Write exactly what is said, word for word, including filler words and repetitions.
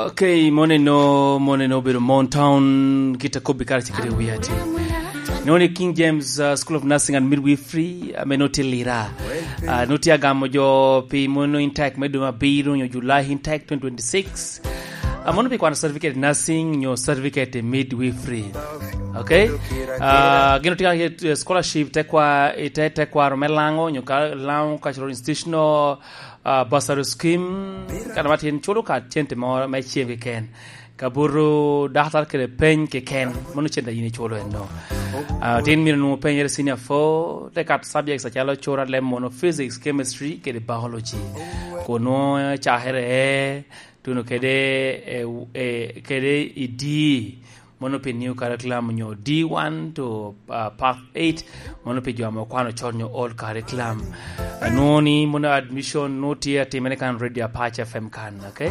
Okay, moneno, moneno obedo Mon Town, kit akobbi kara cikere wia tye. Noni King James, uh, School of Nursing and Midwifery, ame noti lira. Uh, noti agamo jo pi mono intake me dwe abiro nyo July intake twenty twenty-six. Uh, mono pi kwano certificate nursing nyo certificate midwifery. Okay? Uh, gino tika scholarship tekwa, ite tekwaro me lango nyo ka lango cultural institutional uh, bursary scheme, kana ma tin culo ka cente mo me cem keken. Ka buto daktar kede peny keken, mano cente yin iculo eno. Uh, tin mino nwoŋo penyere senior four, te kat subjects acalo cura lem mono physics, chemistry, kede biology. Kono cakere e, tuno kede, e, e, kede idi, mono pi new curriculum nyo D one to, uh, path eight, mono pi jo ame okwano con nyo old curriculum. Anwoŋo ni mono admission nwoŋo tye atimere kan Radio Apac F M kan, okay?